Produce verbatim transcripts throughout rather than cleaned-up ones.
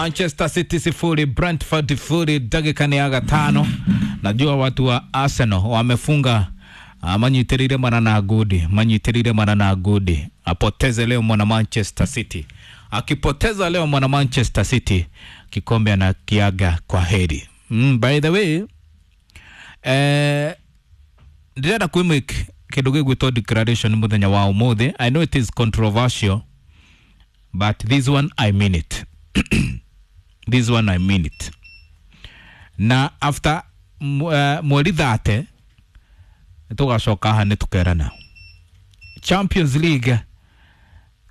Manchester City sifuri Brentford sifuri, dakika ni ya gatano. Najua watu wa Arsenal wamefunga, ah, manyitirire mara na gudi, manyitirire mara na gudi. Apoteze leo mwana Manchester City, akipoteza leo mwana Manchester City kikombe anakiaga kwa heri. Mm, by the way, eh, ndĩrenda kwĩmake kĩndũ gĩgwĩtwo declaration mũthenya wa ũmũthĩ. I know it is controversial, but this one I mean it. This one I mean it. Na after uh, mweri thate tũgacoka haha nĩ tũkerana Champions League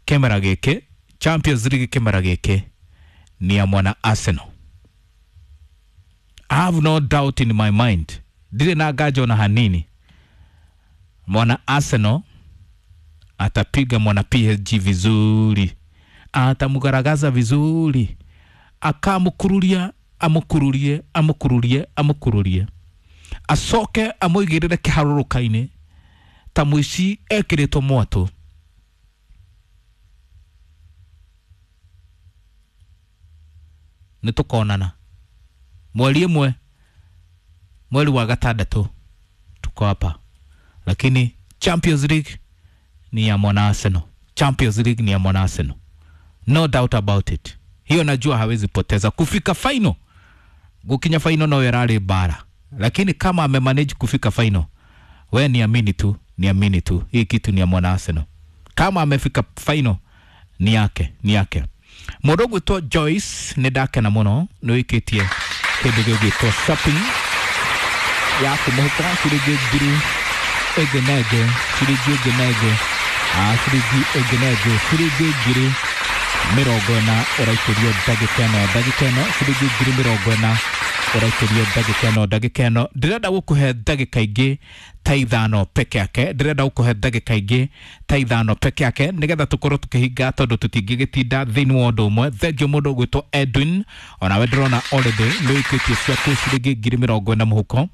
kĩmera gĩkĩ, Champions League kĩmera gĩkĩ ni ya mwana Arsenal. I have no doubt in my mind, ndirĩ na nganja ona hanini, mwana Arsenal atapiga mwana P S G vizuri, atamugaragaza vizuri, akamukururia amukururie amukururie amukururie, acoke amuigirire kiharũrũka-inĩ ta mũici ekĩrĩtwo mwatũ. Nĩ tũkonana mweri ĩmwe, mweri wa gatandatũ, tuko hapa. Lakini Champions League ni ya mwana Arsenal. Champions League ni ya mwana Arsenal, no doubt about it. Hiyo najua hawezi poteza. Kufika final, gukinya final no yarari bara, lakini kama amemanage kufika final, we niamini tu, niamini tu, hii kitu ni ya mwana Arsenal. Kama amefika final ni yake, ni yake. Mũndũ ũgwĩtwo Joyce nĩ ndakena mũno nĩ wĩkĩtie kĩndũ gĩgwĩtwo shopping ya kũmũhuko ciringi ngiri ĩngĩ na ĩngĩ, ciringi ĩngĩ na ĩngĩ, ah, ciringi ĩngĩ na ĩngĩ, ciringi ngiri mĩrongo ĩna ũraikĩrio ndagĩka ĩno, ndagĩka ĩno, ciringi ngiri mĩrongo ĩna ũraikĩrio ndagĩka ĩno, ndagĩka ĩno. Ndĩrenda gũkũhe ndagĩka ingĩ ta ithano peke yake, ndĩrenda gũkũhe ndagĩka ingĩ ta ithano peke yake nĩgetha tũkorwo tũkĩhinga, tondũ tũtingĩgĩtinda thĩinĩ wa ũndũ ũmwe. Thengiũ mũndũ ũgwĩtwo Edwin, onawe ndĩrona already nĩ ũikĩtie ciaku ciringi ngiri mĩrongo ĩna mũhuko.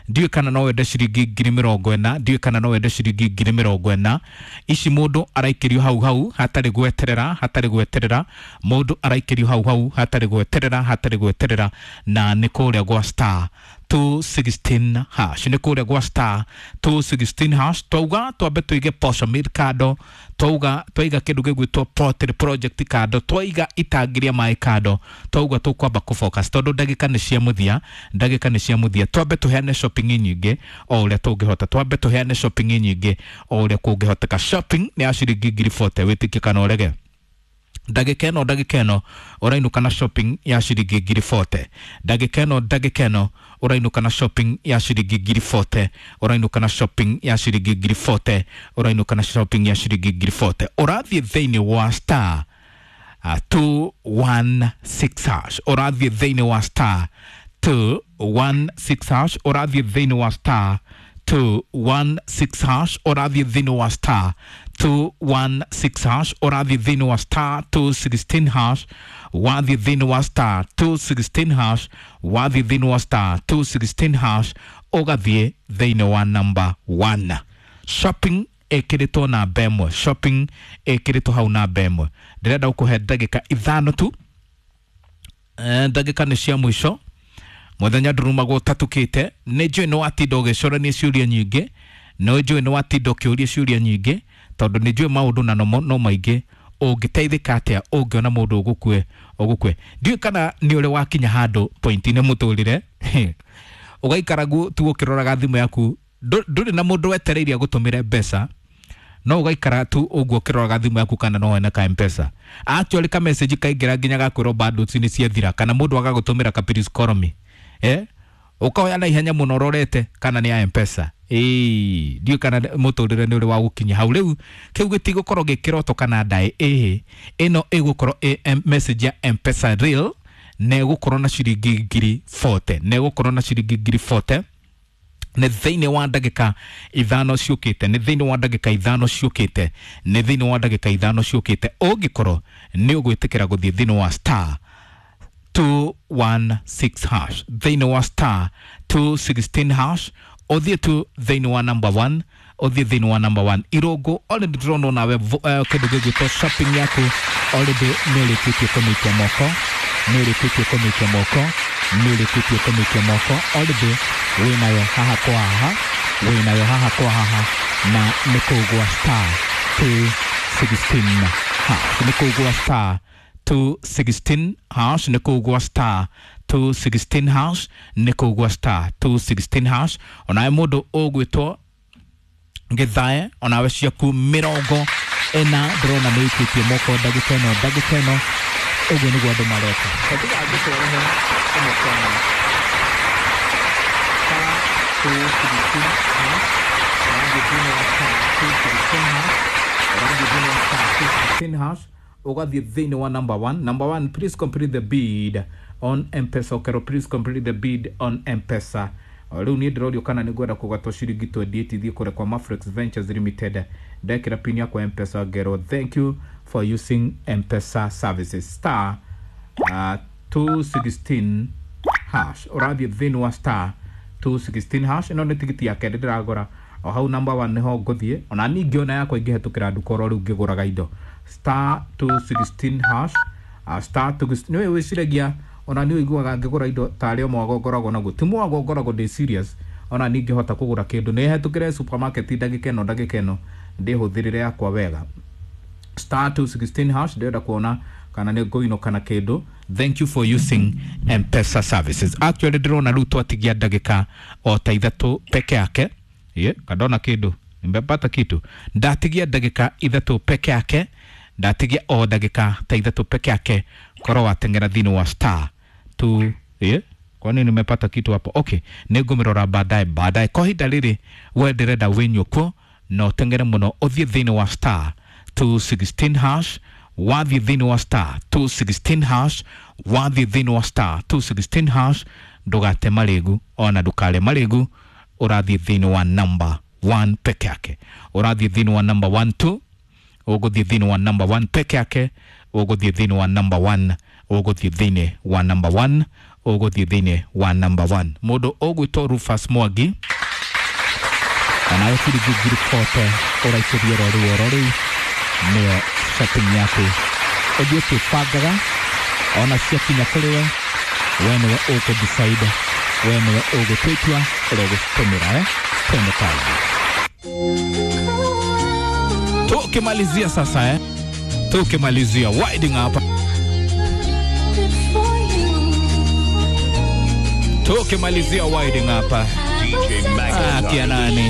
Ndiũĩ kana no wende ciringi ngiri mĩrongo ĩna, ndiũĩ kana no wende ciringi ngiri mĩrongo ĩna. Ici mũndũ araikĩrio hau hau hatarĩ gweterera, hatarĩ gweterera, mũndũ araikĩrio hau hau hatarĩ gweterera, hatarĩ gweterera, na nĩ kũrĩa gwa star two sixteen hash, nĩ kũrĩa gwa star two sixteen hash. Twauga twambe tũige posho mill kando, twauga twaiga kĩndũ gĩgwĩtwo pottery project kando, twaiga itangi rĩa maĩ kando, twauga tũkwamba kũfocus tondũ ndagĩka nĩ cia mũthia, ndagĩka nĩ cia mũthia. Twambe tũheane shopping nyingĩ o ũrĩa tũngĩhota, twambe tũheane shopping nyingĩ o ũrĩa kũngĩhoteka. Shopping nĩ ya ciringi ngiri forty, wĩtĩkie kana ũrege. Ndagĩka ĩno, ndagĩka ĩno ũrainũka na shopping ya ciringi ngiri forty. Ndagĩka ĩno, ndagĩka ĩno ũrainũka na shopping ya ciringi ngiri forty, ũrainũka na shopping ya ciringi ngiri forty, ũrainũka na shopping ya ciringi ngiri forty. Ũrathiĩ thĩinĩ wa star uh, two one six hash, ũrathiĩ thĩinĩ wa star two one six hash, ũrathiĩ thĩinĩ wa star two one six hash, ũrathiĩ thĩinĩ wa star two one six hash, ũrathiĩ thĩinĩ wa star two sixteen hash, wathiĩ thĩinĩ wa star two sixteen hash, wathiĩ thĩinĩ wa star two sixteen hash, ũgathiĩ thĩinĩ wa number one. Shopping ĩkĩrĩtwo namba ĩmwe, shopping ĩkĩrĩtwo hau namba ĩmwe. Ndĩrenda gũkũhe ndagĩka ithano tu, eh, ndagĩka nĩ cia mũico. Mũthenya ndurumagwo ũtatukĩte. Nĩ njũĩ nĩ watinda ũgĩcorania ciũria nyingĩ, nĩ njũĩ nĩ watinda ũkĩũria ciũria nyingĩ, tondũ nĩ njũĩ maũndũ na no maingĩ. Ũngĩteithĩka atĩa ũngĩona mũndũ ũgũkue, ũgũkue? Ndiũĩ kana nĩ ũrĩ wakinya handũ point-inĩ mũtũrĩre ũgaikara guo tu ũkĩroraga thimũ yaku, ndũrĩ na mũndũ wetereire agũtũmĩre mbeca, no ũgaikara tu ũguo ũkĩroraga thimũ yaku kana no wone ka M-Pesa. Actually ka message kaingĩra nginya gakwĩrwo bundles nĩ ciathira, kana mũndũ agagũtũmĩra ka please call me, eh, ũkoya na ihenya mũno ũrorete kana nĩ ya M-Pesa. Ĩĩ, ndiũĩ kana mũtũrĩre nĩ ũrĩ wa gũkinya hau. Rĩu kĩu gĩtigũkorwo gĩ kĩroto kana ndaĩ, ĩhĩ, ĩno ĩgũkorwo ĩ message ya M-Pesa real, na ĩgũkorwo na ciringi ngiri forty, na ĩgũkorwo na ciringi ngiri forty nĩ thĩinĩ wa ndagĩka ithano ciũkĩte, nĩ thĩinĩ wa ndagĩka ithano ciũkĩte, nĩ thĩinĩ wa ndagĩka ithano ciũkĩte. Ũngĩkorwo nĩ ũgwĩtĩkĩra gũthiĩ thĩinĩ wa star two one six hash, thĩinĩ wa star two sixteen hash, ũthiĩ tu thĩinĩ wa number one, ũthiĩ thĩinĩ wa number one. Irũngũ already ndĩrona nawe kĩndũ gĩgwĩtwo shopping yaku already nĩ ũrĩkĩtie kũmĩikia moko. Nĩ ũrĩkĩtie kũmĩikia moko, nĩ ũrĩkĩtie kũmĩikia moko. Already wĩnayo haha kwa haha, wĩnayo haha kwa haha, na nĩ kũu gwa star two sixteen hash, nĩ kũu gwa star two sixteen hash, nĩ kũu gwa star two sixteen hash, nĩ kũu gwa star two sixteen hash. Onawe mũndũ ũgwĩtwo Gĩthae, onawe ciaku mĩrongo ĩna ndĩrona nĩ ũikĩtie moko ndagĩka ĩno, ndagĩka ĩno ũguo nĩguo andũ mareka. Ngĩtwarehe ĩmwe kwa ĩmwe. Star two sixteen hash, ũrathiĩ thĩinĩ wa star two sixteen hash, ũrathiĩ thĩinĩ wa star two sixteen hash, ũgathiĩ thĩinĩ wa number one. Number one, please complete the bid on M-Pesa. Okero, please complete the bid on M-Pesa. O rĩu niĩ ndĩrorio kana nĩ ngwenda kũgatwo ciringi twenty eight thiĩ kũrĩa kwa Mafrex Ventures Limited. Ndekĩra pin yakwa M-Pesa ngerwo thank you for using M-Pesa services. Star uh, two sixteen hash, ũrathiĩ thĩinĩ wa star two sixteen hash. Ĩno nĩ tigiti ya kerĩ ndĩragũra o hau number one nĩho ngũthiĩ, ona niĩ ngĩona yakwa ingĩhetũkĩra nduka oro rĩu ngĩgũraga indo. Star two sixteen hash, uh, star two sixteen. Nĩwe wĩciragia ona nĩ ũiguaga ngĩgũra indo tarĩ o mwago ngoragwo naguo, ti mwago ngoragwo ndĩ serious. Ona niĩ ngĩhota kũgũra kĩndũ nĩ hetũkĩre supermarket ndagĩka ĩno, ndagĩka ĩno ndĩhũthĩrĩre yakwa wega. Star two sixteen hash, ndĩrenda kuona kana nĩ ngũinũka na kĩndũ. Thank you for using M-Pesa services. Actually ndĩrona rĩu twatigia ndagĩka o ta ithatũ peke yake. Ye, kandona kĩndũ, nimepata kitu. Ndatigia ndagĩka ithatũ peke yake, ndatigia o ndagĩka ta ithatũ peke yake korwo wateng'era thĩinĩ wa star two. Ye, kwani nimepata kitu hapo? Okay, nĩngũmĩrora baadaye, baadaye. Kwa ihinda rĩrĩ we ndĩrenda wĩnyũkwo na ũteng'ere mũno ũthiĩ thĩinĩ wa star two sixteen hash, wathiĩ thĩinĩ wa star two sixteen hash, wathiĩ thĩinĩ wa star two sixteen hash. Ndũgate marĩgu ona ndũkarĩe marĩgu, ũrathiĩ thĩinĩ wa number one peke yake, ũrathiĩ thĩinĩ wa number one two, ũgũthiĩ thĩinĩ wa number one peke yake, ũgũthiĩ thĩinĩ wa number one, ũgũthiĩ thĩinĩ wa number one, ũgũthiĩ thĩinĩ wa number one. Mũndũ ũgwĩtwo Rufus Mwangi, onawe ciringi ngiri bote ũraikĩria oro rĩu oro rĩu, nĩyo shopping yaku. Ũthiĩ ũkĩbangaga, ona ciakinya kũrĩ we, we nĩwe ũkũ decide, we nĩwe ũgũtua itua ũrĩa ũgũcitũmĩra. Eh, twende kazi. Tukimalizia sasa, eh, tukimalizia winding up, tukimalizia winding up. D J Magnus. Ah, kia nani?